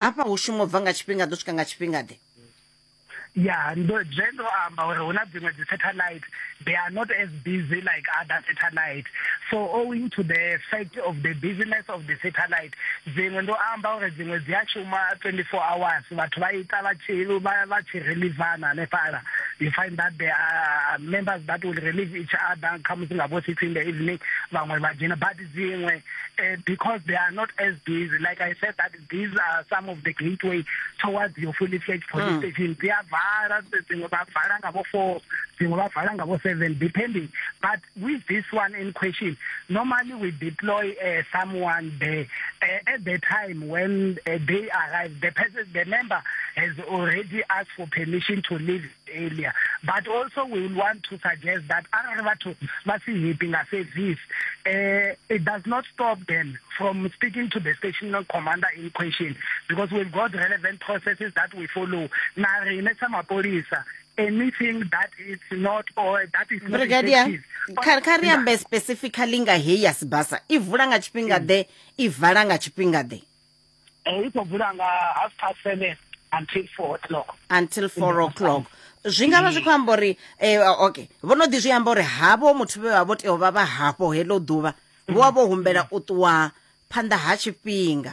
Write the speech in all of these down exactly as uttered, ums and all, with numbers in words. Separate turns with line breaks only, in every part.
Hafha hu shuma u bva nga tshifhinga ḓo swika nga tshifhinga ḓe?
Ya, ndo zwe ndo amba uri hu na dziṅwe dzi satellite, they are not as busy like other satellite. So owing to the fact of the busyness of the satellite, dziṅwe ndo amba uri dziṅwe dzi a shuma twenty-four hours, vhathu vha ita vha tshi vha vha tshi relievana hanefhaḽa. You find that there are members that will relieve each other, khamusi nga vho six in the evening vhaṅwe vha dzhena. But dziṅwe, uh, because they are not as busy, like I said, that these are some of the gateway towards your fully fledged police mm. station, dzi a vala, dziṅwe vha vala nga vho four, dziṅwe vha vala nga vho seven, depending. But with this one in question, normally we deploy uh, someone there uh, at the time when uh, they arrive. The person, the member has already asked for permission to leave earlier. But also we will want to suggest that arali vhathu vha si happy nga service, uh, it does not stop them from speaking to the station commander in question, because we've got relevant processes that we follow. Na riṋe sa mapholisa, anything that is not or that is not
Brigadier,
effective,
kha kha ri ambe specifically nga heyi ya Sibasa. I vula nga tshifhinga ḓe, i vala nga tshifhinga ḓe?
Eh, i khou vula nga half past seven until four o'clock.
Until four o'clock. Zwi nga vha zwi khou amba uri eh, okay, vho no ḓi zwi amba uri havho muthu vhe vha vho tea u vha vha hafho heḽo ḓuvha vho vha vho humbela u ṱuwa phanḓa ha tshifhinga,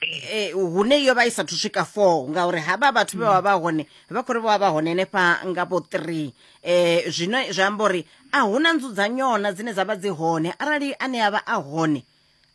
eh, hune yo vha i sathu swika four, ngauri havha vhathu vhe vha vha hone vha khou ri vho vha vha hone henefha nga vho three. eh zwino zwi amba uri a huna nzudzanyona dzine dza vha dzi hone arali ane a vha a hone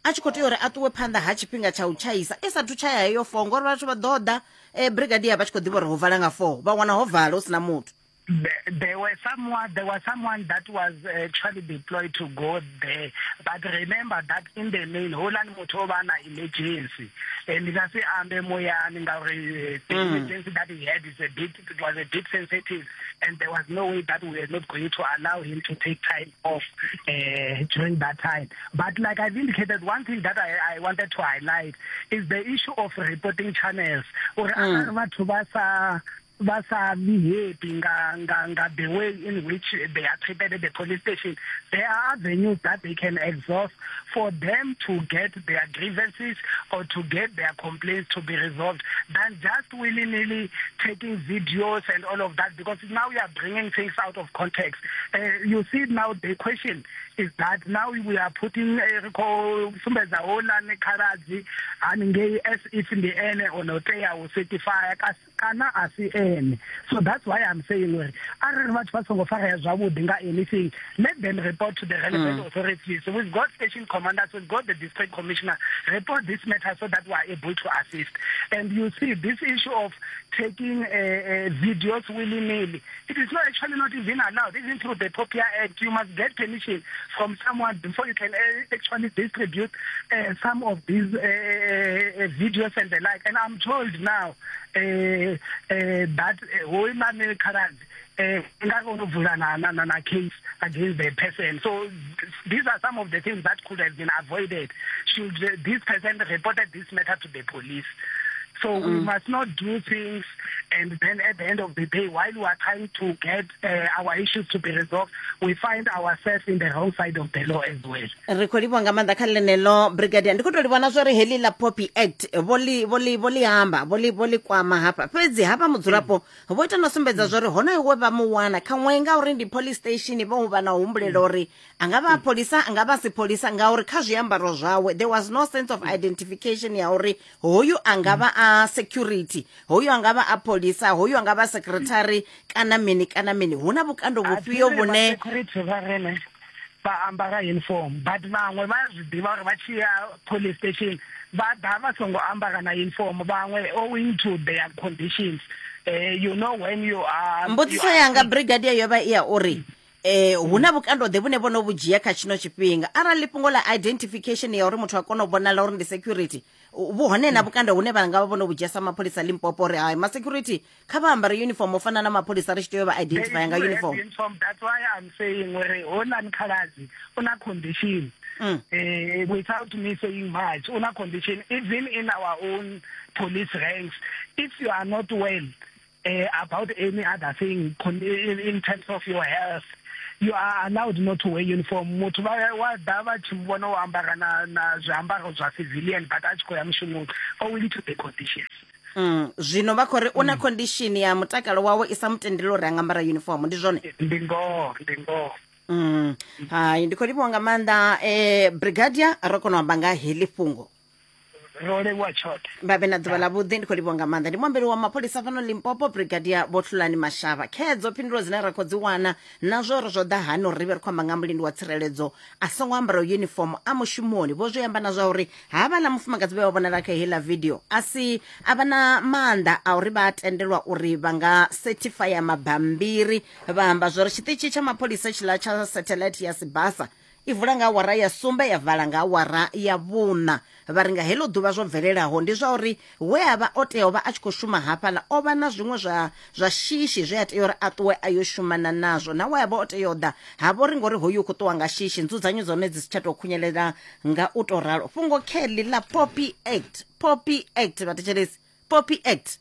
a tshi khou tea uri a ṱuwe phanḓa ha tshifhinga tsha u tshaisa i sathu tshaya heyo four, ngori vhathu vha ḓo ḓa eh, brigadier vha tshi khou ḓivha uri ho vala nga four, vha wana ho vala hu sina muthu.
There, there were someone, there was someone that was actually deployed to go there. But remember that in the main, houḽani muthu o vha na emergency. Ndi nga si ambe muyani ngauri the emergency that he had is a bit, it was a bit sensitive, and there was no way that we were not going to allow him to take time off uh, during that time. But like I've indicated, one thing that I, I wanted to highlight is the issue of reporting channels. Uri arali vhathu vha sa vha sa be happy nga nga nga the way in which they are treated at the police station, there are avenues that they can exhaust for them to get their grievances or to get their complaints to be resolved, than just willy-nilly taking videos and all of that, because now we are bringing things out of context. Uh, you see, now the question is that now we are putting ri khou sumbedza houḽani khaladzi haningei as if ndi ene o no tea u certify kana a si ene. So that's why I'm saying uri arali vhathu vha songo farea zwavhuḓi nga anything, let them report to the relevant mm. authorities. We've got station commanders, we've got the district commissioner. Report this matter so that we are able to assist. And you see, this issue of taking uh, uh, videos willy-nilly, it is not actually not even allowed. Even through the POPIA Act, you must get permission from someone before you can uh, actually distribute uh, some of these uh, uh, videos and the like. And I'm told now uh, uh, that houḽani khaladzi eh nga kona u vula na na na case against the person. So these are some of the things that could have been avoided should this person reported this matter to the police. So mm. we must not do things and then at the end of the day, while we are trying to get uh, our issues to be resolved, we find ourselves in the wrong side of the law as well.
Ri khou livhuwa nga maanḓa kha ḽeneḽo, brigadier. Ndi khou tou livhona zwa uri heḽi ḽa POPI Act vho ḽi vho ḽi vho ḽi amba, vho ḽi vho ḽi kwama hafha, fhedzi hafha mudzulapo vho ita no sumbedza zwa uri honoyo we vha mu wana khaṅwe ngauri ndi police station, vho vha na u humbulela uri a nga vha a pholisa, a nga vha si pholisa, ngauri kha zwiambaro zwawe there was no sense of identification ya uri hoyu a nga vha a security, hoyu a nga vha a pholisa, hoyu a nga vha secretary kana mini kana mini. Hu na vhukando vhufhio vhune
security vha rene vha ambara uniform, but vhaṅwe vha zwi ḓivha uri vha tshi ya police station vha ḓa vha songo ambara na uniform, vhaṅwe owing to their conditions. Uh, you know when you are
Mbudziso yanga, brigadier, yo vha i ya uri eh hu na vhukando ḓe vhune vhono vhu dzhia kha tshino tshifhinga arali fhungo ḽa identification ya uri muthu a kone u vhonala uri ndi security vhu hone na vhukando hune vha nga vha vhono vhu dzhia sa mapholisa Limpopo uri hai, ma security kha vha ambare uniform u fana na mapholisa, ri tshi tea u vha identify nga uniform?
Uniform. That's why I'm saying uri houḽani khaladzi u na condition. Mm. Uh, without me saying much, una condition, even in our own police ranks, if you are not well uh, about any other thing in, in terms of your health, You are allowed not to wear uniform. Muthu vha wa ḓa vha tshi vhona o ambara na na zwiambaro zwa civilian, but a tshi khou ya mushumoni owing to the conditions.
Mm, zwino vha khou ri u na condition ya mutakalo wawe i sa mutendeli uri a nga ambara uniform, ndi zwone?
Ndi ngoho, ndi ngoho.
Mm. Hai, ndi khou livhuwa nga maanḓa eh, brigadier, ro kona u amba nga heḽi fhungo.
Ro livhuwa tshoṱhe.
Vha vhe na ḓuvha ḽa vhuḓi. Ndi khou livhuwa nga maanḓa. Ndi muambeli wa mapholisa fhano Limpopo, Brigadier Vho Hlulani Mashaba. Khedzo phindulo dzine ra khou dzi wana na zwo uri zwo ḓa hani uri ri vhe ri khou amba nga mulindi wa tsireledzo a songo ambara uniform a mushumoni. Vho zwi amba na zwa uri havhaḽa mufumakadzi vhe vha vhonala kha heiḽa video a si a vha na maanḓa a uri vha tendelwa uri vha nga certifya mabambiri. Vha amba zwa uri tshiṱitshi tsha mapholisa tshiḽa tsha satellite ya Sibasa i vula nga awara ya sumbe ya vala nga awara ya vhuṋa. Vha ri nga heḽo ḓuvha zwo bvelelaho ndi zwa uri we a vha o tea u vha a tshi khou shuma hafhaḽa o vha na zwiṅwe zwa zwa shishi zwe a tea uri a ṱuwe a yo shumana nazwo, na we a vha o tea u ḓa ha vho ri ngori hoyu u khou ṱuwa nga shishi, nzudzanyo dzone dzi si tsha tou khunyelela nga u tou ralo. Fhungo kheḽi ḽa Poppy Act, Poppy Act vhathetshelesi, Poppy Act.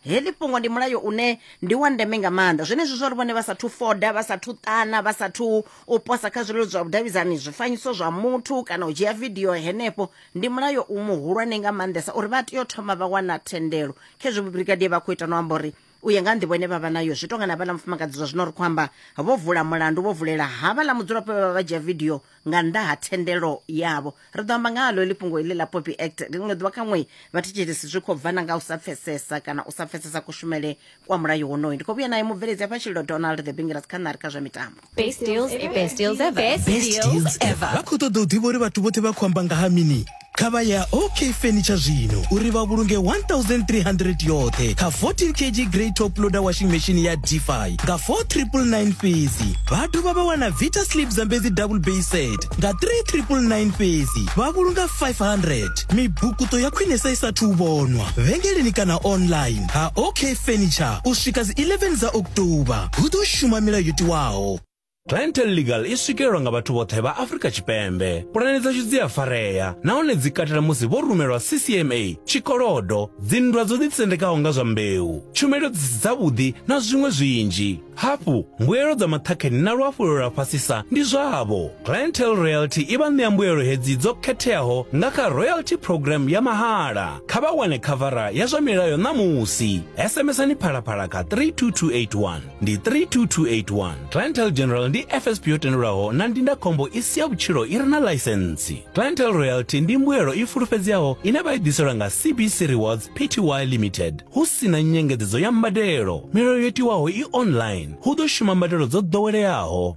Heḽi fhungo ndi mulayo une ndi wa ndeme nga maanḓa. Zwenezwi zwa uri vhone vha sathu foda, vha sathu ṱana, vha sathu u posa kha zwileludzi zwa vhudavhidzani zwifanyiso zwa muthu kana u dzhia video henefho, ndi mulayo u muhulwane nga maanḓesa uri vha tea u thoma vha wana thendelo. Khezwi brigadier vha khou ita no amba uri u ya nga nḓivho ine vha vha nayo zwi tonga na vhaḽa mufumakadzi zwa zwino ri khou amba vho vula mulandu, vho vulela havhaḽa mudzulapo vhe vha vha dzhia video nga nnḓa ha thendelo yavho. Ri ḓo amba nga halo heḽi fhungo iḽi ḽa Poppy Act ḽiṅwe ḓuvha kha ṅwe vhathetshelesi zwi khou bvana nga u sa pfesesa kana u sa pfesesa kushumele kwa mulayo wonoyu. Ndi khou vhuya naye mubveledzi hafha Tshililo Donald the Bingiras kha ṋari kha zwa mitambo.
Best deals ever. Best deals ever. Best,
Best deals ever. Vha khou ṱoḓa u ḓivha uri vhathu vhoṱhe vha khou amba nga ha mini? Kha vha ya OK Furniture zwino uri vha vhulunge one thousand three hundred yoṱhe kha fourteen kilogram grey top loader washing machine ya Defy nga four triple nine fhedzi. Vha dovha vha wana Vita Sleep Zambezi double base set nga three triple nine fhedzi, vha vhulunga five hundred. Mibukuto ya khwinesa i sathu vhonwa vhengeleni kana online ha OK Furniture u swika dzi eleven dza October. Hu ḓo shuma milayo yo tiwaho.
Clientele Legal i swikelelwa nga vhathu vhoṱhe vha Afrika Tshipembe. Pulane dzashu dzi a farea nahone dzi katela musi vho rumelwa C C M A, tshikolodo, dzinndwa dzo ḓisendekaho nga zwa mbeu, tshumelo dzi si dzavhuḓi na zwiṅwe zwinzhi. Hafhu, mbuelo dza maṱhakheni na luafhulelo lwa fhasisa ndi zwavho. Clientele Royalty i vha ṋea mbuelo hedzi dzo khetheaho nga kha royalty program ya mahala. Kha vha wane khavara ya zwa milayo ṋamusi. S M S-ani Phalaphala kha three two two eight one. Ndi three two two eight one. Clientele General ndi F S P yo tendelwaho na ndindakhombo i si ya vhutshilo i re na ḽaisentsi. Clientele Royalty ndi mbuelo i fulufhedzeaho ine vha i ḓiselwa nga C B C Rewards P T Y Limited hu si na nyengedzedzo ya mbadelo. Milayo yo tiwaho i online. Hu ḓo shuma mbadelo dzo ḓoweleaho.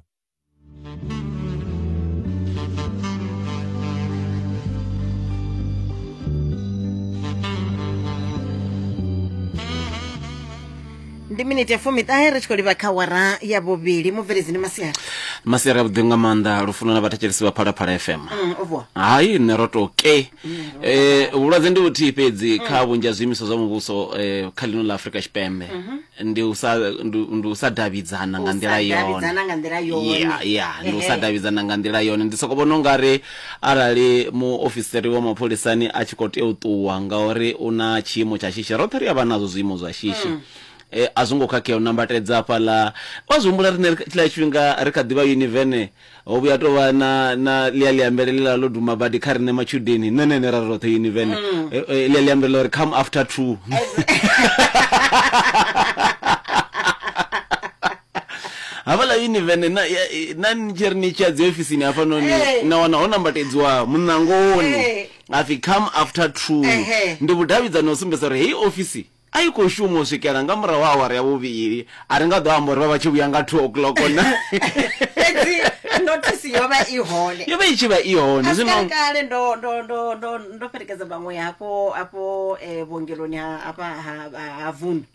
Ndi miniti ya fumiṱahe ri tshi khou livha kha awara ya vhuvhili. Mubveledzi ndi masiari.
Masiari avhuḓi nga maanḓa, lufuno na vhathetshelesi vha Phalaphala F M.
Mm, o vuwa.
Hai, nṋe ro tou ke. Eh, vhulwadze ndi vhuthihi fhedzi kha vhunzhi ha zwiimiswa zwa muvhuso eh, kha ḽino ḽa Afrika Tshipembe. Ndi u sa ndi u sa davhidzana nga nḓila yone.
Davhidzana nga nḓila yone.
Yeah, yeah, ndi u sa davhidzana nga nḓila yone. Ndi soko vhona ungari arali muofisiri wa mapholisani a tshi khou tea u ṱuwa ngauri u na tshiimo tsha shishi, roṱhe ri a vha nazwo zwiimo zwa shishi. Eh, a zwo ngo khakhea u nambatedza hafhaḽa. Wa zwi humbula riṋe tshiḽa tshifhinga ri kha ḓivha univene ho vhuya tovha na na ḽia ḽiambele ḽiḽa ḽo duma badi kha riṋe matshudeni nṋe nṋe ra roṱhe univene ḽia ḽiambele ḽa uri come after two. Hafhaḽa univene na na ni tshi ri ni tshi ya dzi ofisini hafhanoni na wana ho nambatedziwa muṋangoni hapfi come after two. Ndi vhudavhidzani ho sumbedza uri heyi ofisi a i khou shuma u swikela nga murahu ha awara ya vhuvhili. A ri nga ḓo amba uri vha vha tshi vhuya nga two o'clock na.
Fhedzi notice yo vha i hone.
Yo vha i tshi vha i hone.
Zwino kale ndo ndo ndo ndo ndo fhelekedza vhaṅwe hafho hafho vhuongeloni ha hafha ha Vundu.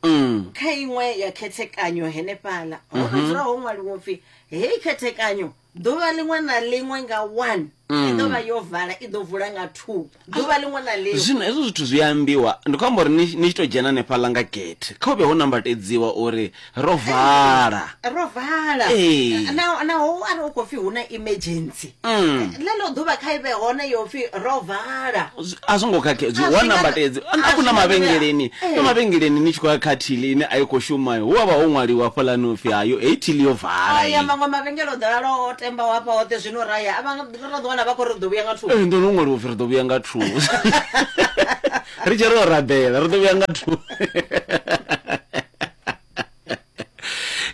Kha iṅwe ya khethekanyo henefhaḽa ho dzula ho ṅwaliwa upfi heyi khethekanyo ḓuvha ḽiṅwe na ḽiṅwe nga one I ḓo vha yo vala, i ḓo vula nga two ḓuvha ḽiṅwe na ḽiṅwe.
Zwino hezwo zwithu zwi ambiwa, ndi khou amba uri ni ni tshi to dzhena hanefhaḽa nga gate kha hu vhe ho nambatedziwa uri ro vala.
Ro vala.
Ee.
Na naho arali u khou pfi hu na emergency,
Mm.
ḽeḽo ḓuvha kha i vhe hone yo pfi ro vala.
Zwi- a zwo ngo khakhea,
A zwi
wa
nga-
nambatedzi
a
a
zwi
kuna
nga-
mavhengeleni,
Eh.
na mavhengeleni ni tshi khou ya kha thili ine a i khou shuma, hu avha ho ṅwaliwa hafhaḽani upfi hayo heyi thili yo vala.
Aya
iyi.
maṅwe mavhengele o ḓalala o temba hafha hoṱhe, zwino ra ya a vha ra ḓo wana vha khou ri ḓo vhuya nga two.
Ee, ndo no ṅwaliwa upfi ri ḓo vhuya nga two. Ri tshi ro rabela ri ḓo vhuya nga two.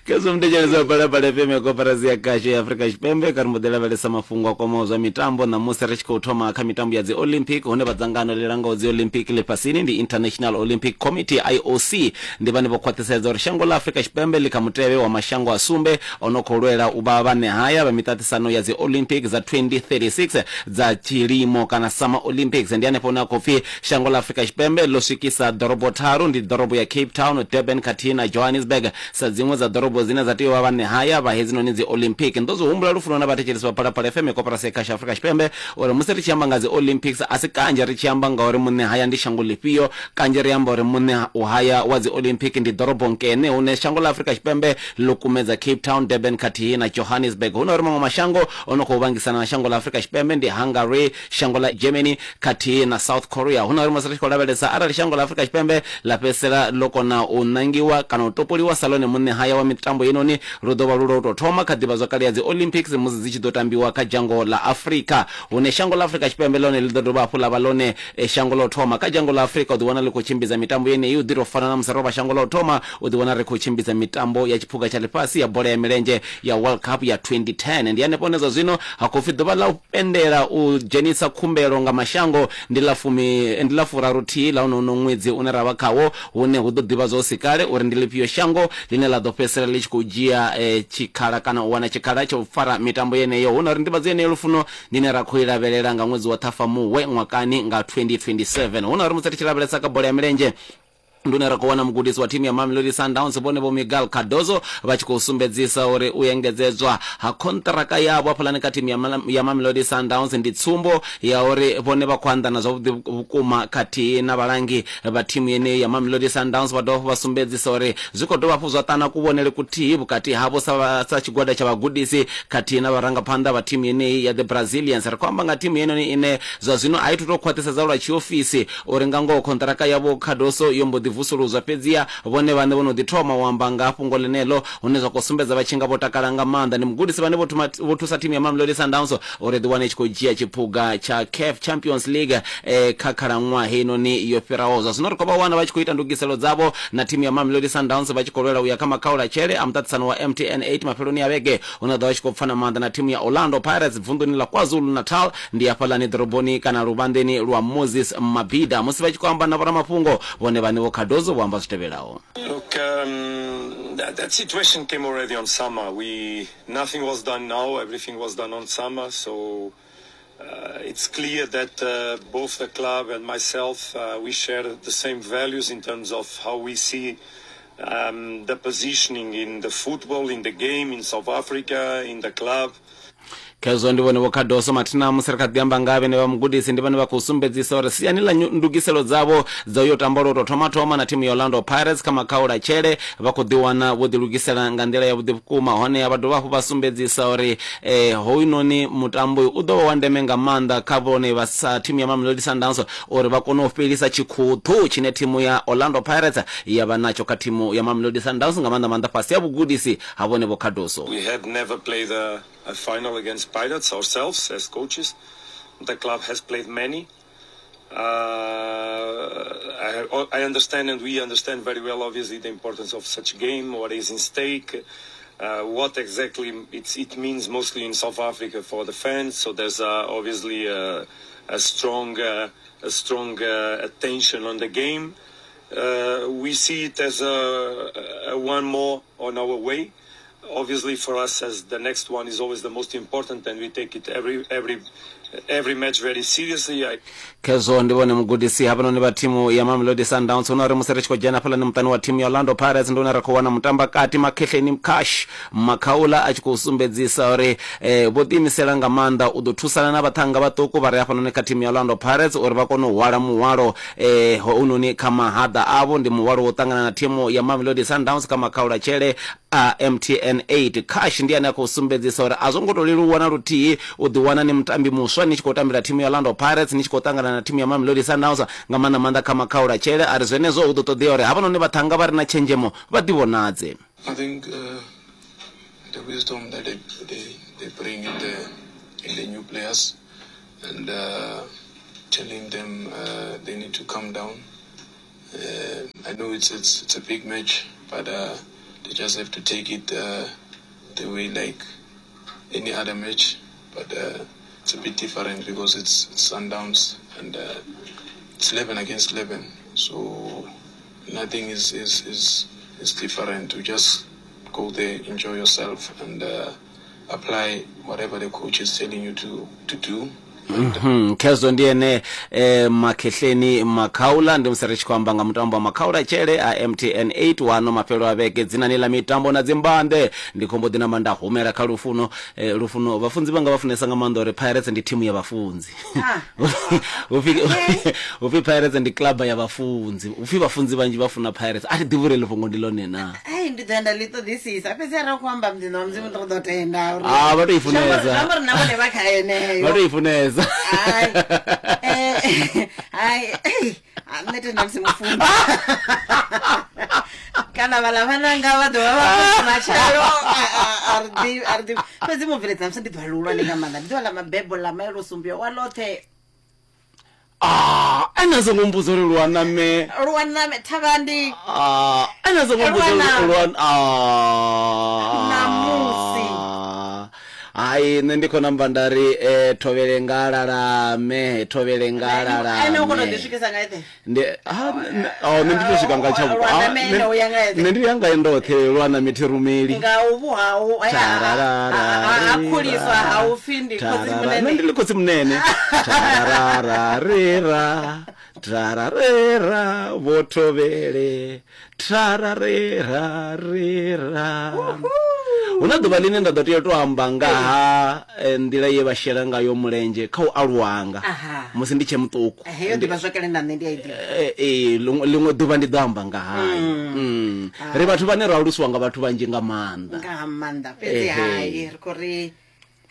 Khezwo mutetshelezi wa Phalaphala F M ya koporasi ya khasho ya Afrika Tshipembe, kha ri mbo ḓi lavhelesa mafhungo a kwamaho zwa mitambo. Ṋamusi ri tshi khou thoma kha mitambo ya dzi Olympic, hune vha dzangano ḽi langaho dzi Olympic ḽifhasini ndi International Olympic Committee I O C, ndi vhane vho khwaṱhisedza uri shango ḽa Afrika Tshipembe ḽi kha mutevhe wa mashango a sumbe o no khou lwela u vha vhane haya vha miṱaṱisano ya dzi Olympic dza twenty thirty-six dza tshilimo kana Summer Olympics. Ndi hanefho hune ha khou pfi shango ḽa Afrika Tshipembe ḽo swikisa ḓorobo tharu, ndi ḓorobo ya Cape Town, Durban khathihi na Johannesburg sa dziṅwe dza ḓorobo dzine dza tea u vha vhane haya vha hedzinoni dzi Olympic. Ndo zwi humbula lufuno na vhathetshelesi vha Phalaphala F M ya koporasi ya khasho Afrika Tshipembe uri musi ri tshi amba nga dzi Olympics a si kanzhi ri tshi amba ngauri muṋe haya ndi shango ḽifhio, kanzhi ri amba uri muṋe u haya wa dzi Olympic ndi ḓorobo nkene hune shango ḽa Afrika Tshipembe ḽo kumedza Cape Town, Durban khathihi na Johannesburg. Hu na uri maṅwe mashango o no khou vhangisana na shango ḽa Afrika Tshipembe ndi Hungary, shango ḽa Germany khathihi na South Korea. Hu na uri musi ri tshi khou lavhelesa arali shango ḽa Afrika Tshipembe ḽa fhedzisela ḽo kona u nangiwa kana u topoliwa sa ḽone muṋe haya wa mitambo inoni, lu ḓo vha lu lwa u tou thoma kha ḓivhazwakale ya dzi Olympics musi dzi tshi ḓo tambiwa kha dzhango ḽa Afrika, hune shango ḽa Afrika Tshipembe ḽone ḽi ḓo dovha hafhu ḽa vha ḽone eh, shango ḽa u thoma kha dzhango ḽa Afrika u ḓiwana ḽi khou tshimbidza mitambo yeneyi. U ḓi tou fana na musi ro vha shango ḽa u thoma u ḓiwana ri khou tshimbidza mitambo ya tshiphuga tsha ḽifhasi ya bola ya milenzhe ya World Cup ya twenty ten. Ndi hanefho hune zwa zwino ha khou pfi ḓuvha ḽa u pendela u dzhenisa khumbelo nga mashango ndi ḽa fumi ndi ḽa furaru thihi ḽa uno ṅwedzi une ra vha khawo, hune hu ḓo ḓivhadzwa hu si kale uri ndi ḽifhio shango ḽine ḽa ḓo fhedzisela ḽi tshi khou dzhia eh, tshikhala kana u wana tshikhala tsha u fara mitambo yeneyo. Hu na uri nḓivhadzo yeneyo lufuno ndine ra khou i lavhelela nga ṅwedzi wa Ṱhafamuhwe ṅwakani nga twenty twenty-seven. Hu na uri musi ri tshi lavhelesa kha bola ya milenzhe, ndi une ra khou wana mugudisi wa thimu ya Mamelodi Sundowns vhone vho Miguel Cardoso vha tshi khou sumbedzisa uri u engedzedzwa ha kontraka yavho hafhaḽani kha thimu ya Mala- ya Mamelodi Sundowns ndi tsumbo ya uri vhone vha khou anḓana zwavhuḓi vhukuma khathihi na vhalangi vha thimu yeneyi ya Mamelodi Sundowns. Vha dovha hafhu vha sumbedzisa uri zwi khou dovha hafhu zwa ṱana kuvhonele kuthihi vhukati havho sa, vha- sa tshigwada tsha vhagudisi khathihi na vharangaphanḓa vha thimu yeneyi ya the Brazilians. Ri khou amba nga thimu yenoni ine zwa zwino a i thu tou khwaṱhisedza lwa tshiofisi uri nga ngoho kontraka yavho Cardoso yo mbo ḓi vusuluzwa, fhedziha vhone vhaṋe vho no ḓi thoma u amba nga fhungo ḽeneḽo, hune zwa khou sumbedza vha tshi nga vho takala nga maanḓa. Ndi mugudisi vhane vho thuma- vho thusa thimu ya Mamelodi Sundowns uri ḓi wane i tshi khou dzhia tshiphuga tsha C A F Champions League eh, kha khalaṅwaha heinoni yo fhiraho. Zwa zwino ri khou vha wana vha tshi khou ita ndugiselo dzavho na thimu ya Mamelodi Sundowns vha tshi khou lwela u ya kha makhaulatshele a muṱaṱisano wa M T N eight mafheloni a vhege, hune ḓo vha tshi khou pfana maanḓa na thimu ya Orlando Pirates vunḓuni ḽa KwaZulu-Natal, ndi hafhaḽani ḓoroboni kana luvhanḓeni lwa Moses Mabhida. Musi vha tshi khou amba na vhoramafhungo vhone vhaṋe vho Cardoso vho amba zwi tevhelaho.
Look, um, that, that situation came already on summer. We nothing was done now. Everything was done on summer. So uh, it's clear that uh, both the club and myself, uh, we share the same values in terms of how we see um, the positioning in the football, in the game, in South Africa, in the club.
Khezwo ndi vhone vho Cardoso mathina musi ri kha ḓi amba nga vhene vha mugudisi ndi vhane vha khou sumbedzisa uri siani ḽa ndugiselo dzavho dza uyo tamba lwo tou thoma thoma na thimu ya Orlando Pirates kha makhaulatshele vha khou ḓiwana vho ḓilugisela nga nḓila yavhuḓi vhukuma. Hone vha dovha hafhu vha sumbedzisa uri eh, hoyunoni mutambo u ḓo vha wa ndeme nga maanḓa kha vhone vha sa thimu ya Mamelodi Sundowns uri vha kone u fhelisa tshikhuthu tshine thimu ya Orlando Pirates ya vha natsho kha thimu ya Mamelodi Sundowns, nga maanḓa maanḓa fhasi ya vhugudisi ha vhone vho Cardoso.
We had never played a, a final against Pirates ourselves as coaches. The club has played many. Uh, I, I understand, and we understand very well, obviously, the importance of such game, what is in stake, uh, what exactly it's, it means mostly in South Africa for the fans. So there's uh, obviously a, a strong, uh, a strong uh, attention on the game. Uh, we see it as a, a one more on our way. Obviously, for us, as the next one is always the most important, and we take it every every every match very seriously. I
Khezwo ndi vhone mugudisi hafhanoni vha thimu ya Mamelodi Sundowns. Hu na uri musi ri tshi khou dzhena hafhaḽani muṱani wa thimu ya Orlando Pirates, ndi hune ra khou wana mutambakati Makhehleni Cash Makhaula a tshi khou sumbedzisa uri eh, vho ḓiimisela nga maanḓa u ḓo thusana na vhaṱhannga vhaṱuku vha re hafhanoni kha thimu ya Orlando Pirates uri vha kone u hwala muhwalo eh, hounoni kha mahaḓa avho. Ndi muhwalo wo ṱangana na thimu ya Mamelodi Sundowns kha makhaula tshele a M T N eight. Cash ndi ane a khou sumbedzisa uri a zwo ngo to leluwa na luthihi u ḓiwana ni mutambi muswa ni tshi khou tambela thimu ya Orlando Pirates, ni tshi khou ṱangana na thimu ya Mamelodi Sundowns nga maanḓa maanḓa kha makhaula tshele. A ri zwenezwo hu ḓo ṱoḓea uri havhanoni vhaṱhannga vha re na tshenzhemo vha ḓivhonadze.
I think uh, the wisdom that they, they, they bring in the, in the new players and uh, telling them uh, they need to calm down. Uh, I know it's, it's, it's a big match, but uh, they just have to take it uh, the way like any other match. But uh, it's a bit different because it's, it's Sundowns and uh, it's eleven against eleven. So nothing is, is, is, is different. You just go there, enjoy yourself, and uh, apply whatever the coach is telling you to, to do.
Mhm Khezwo ndi ene eh, Makhehleni Makhaula. Ndi musi ri tshi khou amba nga mutambo wa makhaula tshele a M T N eight wano mafhelo a vhege dzinani ḽa mitambo na dzimbande. Ndi khombo ḓi namba nda humela kha Lufuno. eh, Lufuno, vhafunzi vhanga vha funesa nga maanḓa uri Pirates ndi thimu ya vhafunzi. Upfi upfi Pirates ndi club ya vhafunzi, upfi vhafunzi vhanzhi vha funa Pirates. A thi ḓivhi uri ḽi fhungo ndi ḽone na.
Ai, ndi ḓo enda ḽi ṱoḓisisa fhedzi arali khou amba muḓini wa Mudzimu ri ḓo tenda uri
ah vha to i funesa,
zwi amba uri na vhone vha kha yeneyo,
vha to i funesa.
Ai, eh, ai, nṋe tenda musi mufunzi kana vhaḽa vhananga vha ḓo vha vha matshelo a ri ḓivhi, a ri ḓivhi. Fhedzi mubveledza musi ndi ḓuvha ḽihulwane nga maanḓa, ndi ḓuvha ḽa mabebo ḽa maelo sumbia wa ḽoṱhe.
Ah, ene songo mbudzo uri lwa name
lwa name thavhandi.
Ah, ene songo mbudzo lwa ah
namusi.
Hai, nṋe ndi khou namba nda ri eh, thovhele nga lalame, thovhele nga lalame.
Ene u kona u ḓi swikisa nga eṱhe.
Ndi ha oh, nṋe ndi to swika nga tshavho. Nṋe ndi ya nga ndoṱhe lwa name thi rumeli.
Nga uvhu hau ha khuliswa ha u pfi ndi khotsi munene.
Nṋe ndi khotsi munene. Tarararera, tararera, vho thovhele, tararera rera. Huna ḓuvha ḽine nda ḓo tea u to amba nga ha nḓila ye vha shela ngayo mulenzhe kha u aluwanga musi ndi tshe muṱuku.
Heyo ḓivha zwakale na nṋe ndi a i ḓivha.
Eh, ḽiṅwe ḓuvha ndi ḓo amba nga hayo. Ri vhathu vhane ro alusiwa nga vhathu vhanzhi nga maanḓa.
Nga maanḓa fhedzi hai ri khou ri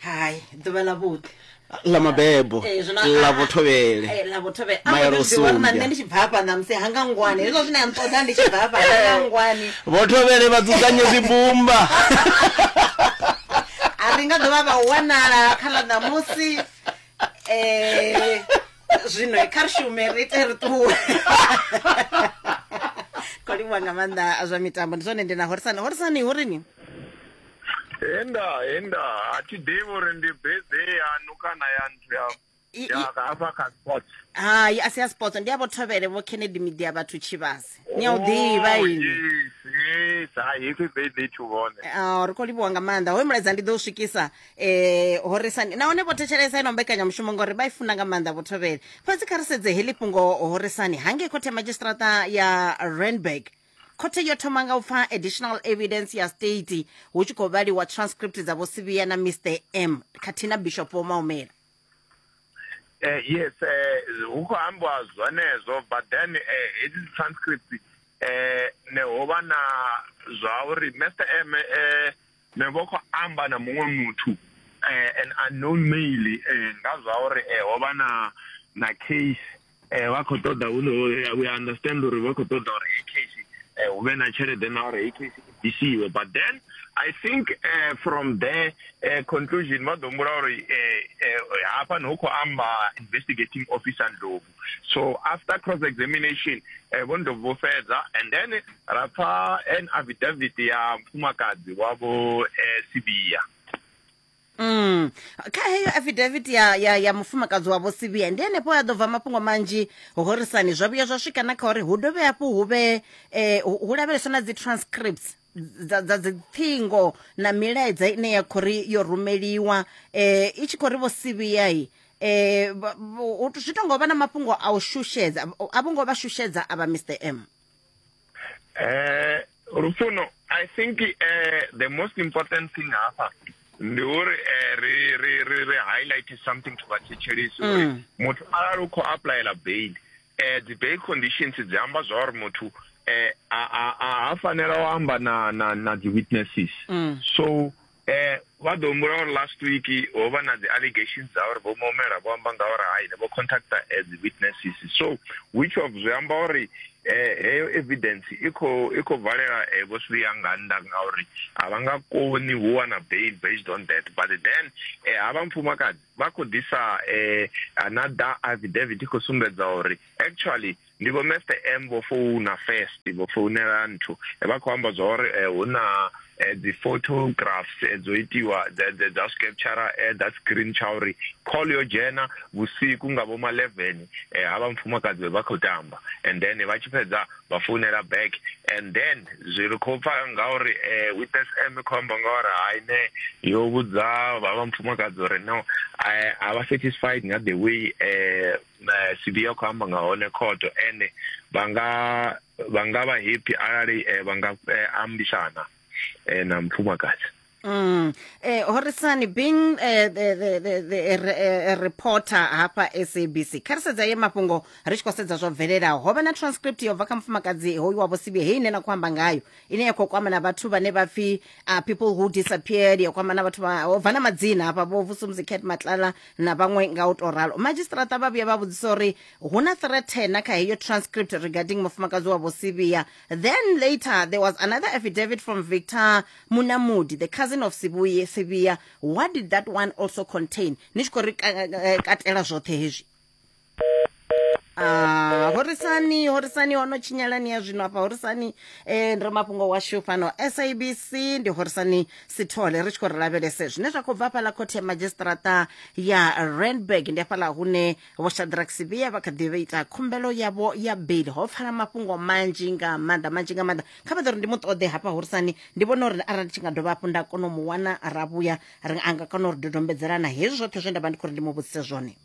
hai ḓuvha ḽa vhuḓi
ḽa mabebo ḽa vhothovhele
ḽa vhothovhele. A nṋe ndi tshi bva hafha ṋamusi hanga ngwani hezwo zwine a nṱoḓa ndi tshi bva hafha hanga ngwani.
Vhothovhele vha dzudzanye zwibumba.
A ri nga ḓovha vha wanala kha ḽa ṋamusi. Eh, zwino kha ri shume ri ite ri ṱuwe. Khou livhuwa nga maanḓa zwa mitambo. Ndi zwone ndi na Horisani. Horisani hu rini?
Enda, enda, a thi ḓivhi uri ndi birthday yaṋu kana ya nthu ya ya hafha kha sports.
Hai, a si ya sports, ndi ya vho Thovhele vho Kennedy Media vhathu Tshivhase. Ni a u ḓivha ini.
Yes, yes, hai happy birthday to vhone.
Ah, ri khou livhuwa nga maanḓa. Hoyu mulaedza ndi ḓo u swikisa eh Horisani. Nahone vho thetshelesa ino mbekanyamushumo ngori vha i funa nga maanḓa vho Thovhele. Fhedzi kha ri sedze heḽi fhungo Horisani hangei khothe ya madzhisiṱiraṱa ya Randburg. Khothe yo thoma nga u pfa additional evidence ya state hu tshi khou vhaliwa transcript dza vho Sibiya na Mister M khathihi na Bishop Vho Maumela.
Uh, yes, hu khou ambiwa zwenezwo, but then hedzi uh, transcript eh ne ho vha na zwa uri Mister M eh ne vho khou amba na muṅwe muthu eh an unknown male eh nga zwa uri eh ho vha na na case eh vha khou ṱoḓa, we understand uri vha khou ṱoḓa uri heyi case hu vhe na tshelede na uri heyi case i bvisiwe. But then I think uh, from there uh, conclusion vha ḓo humbula uri hafha hu khou amba investigating officer Ndlovu. So after cross examination vho Ndlovu vho fhedza, and then ra pfa an affidavit ya mufumakadzi wavho Sibiya.
Mm. Kha heyo affidavit ya ya ya mufumakadzi wa vho Sibiya ndi henefho ya ḓo bva mafhungo manzhi Horisani. Zwa vhuya zwa swika na kha uri hu dovhe hafhu hu vhe eh, hu lavheleswa na dzi transcripts dza dza dziṱhingo na milaedza ine ya khou ri yo rumeliwa eh, i tshi khou ri vho Sibiya Eh zwi tongo vha na mafhungo a u shushedza, a vho ngo vha shushedza avha Mister M.
Eh Lufuno, I think uh, the most important thing hafha ndi uri ri ri ri ri highlight something to vhathetshelesi uri muthu arali u khou applyela bail, eh dzi bail conditions dzi amba zwa uri muthu eh a a a fanela u amba na na na dzi witnesses. So eh vha ḓo humbula uri last week ho vha na dzi allegations dza uri vho Momela vho amba nga uri hai vho contacta dzi witnesses, so which of zwi amba uri eh heyo evidence i khou i khou valela vho Sibiya nga nnḓa ngauri a vha nga koni u wana bail based on that. But then eh havha mufumakadzi vha khou ḓisa eh another affidavit i khou sumbedza uri actually ndi vho Mister M vho founa first, vho founela nthu vha khou amba zwa uri hu na dzi photographs dzo itiwa dza scripture that screen tsha uri call yo dzhena vhusiku nga vho ma eleven havha mufumakadzi vha khou tamba, and then vha tshi fhedza vha founela back, and then zwi ri khou pfa ngauri witness M khou amba ngauri hai ne yo vhudza vha mufumakadzi uri no a vha satisfied nga the way Sibiya khou amba nga hone court, and vha nga vha nga vha happy arali vha nga ambisana na mufumakadzi.
Mm. Eh, Horisani, being uh, the, the, the, the uh, reporter hafha S A B C, kha ri sedza ye mafhungo ri tshi khou sedza zwo bvelelaho, ho vha na transcript yo bva kha mufumakadzi hoyu wa Vho Sibiya heyi ine na khou amba ngayo, ine ya khou kwama na vhathu vhane vha pfi uh, people who disappeared, ya kwama na vhathu vha ho bva na madzina hafha vho Vusumuzi Cat Matlala na vhaṅwe nga u tou ralo. Magistrata vha vhuya vha vhudzisa uri hu na threat na kha heyo transcript regarding mufumakadzi wa Vho Sibiya. Then later there was another affidavit from Victor Munamudi, the cousin of Sibuye Sibiya. What did that one also contain? Ni tshi khou ri katela zwoṱhe hezwi. Ah, Horisani, Horisani ono tshinyalani ya zwino afha Horisani eh ndi mafhungo washu fhano S A B C ndi Horisani Sithole ri tshi khou ri lavhelese zwine zwa khou bva fhaḽa khothe ya magistrata ya Randburg. Ndi hafhaḽa hune Vho Shadrack Sibiya vha kha ḓi vha ita khumbelo yavho ya bail. Ho pfala mafhungo manzhi nga maanḓa manzhi nga maanḓa. Kha vha ḓo ri ndi mu ṱoḓe hafha Horisani, ndi vhona uri arali tshi nga dovha hafhu nda kona u mu wana ra vhuya ri anga kona uri dodombedzelana hezwi zwoṱhe zwe nda vha ndi khou ri ndi mu vhudzise zwone.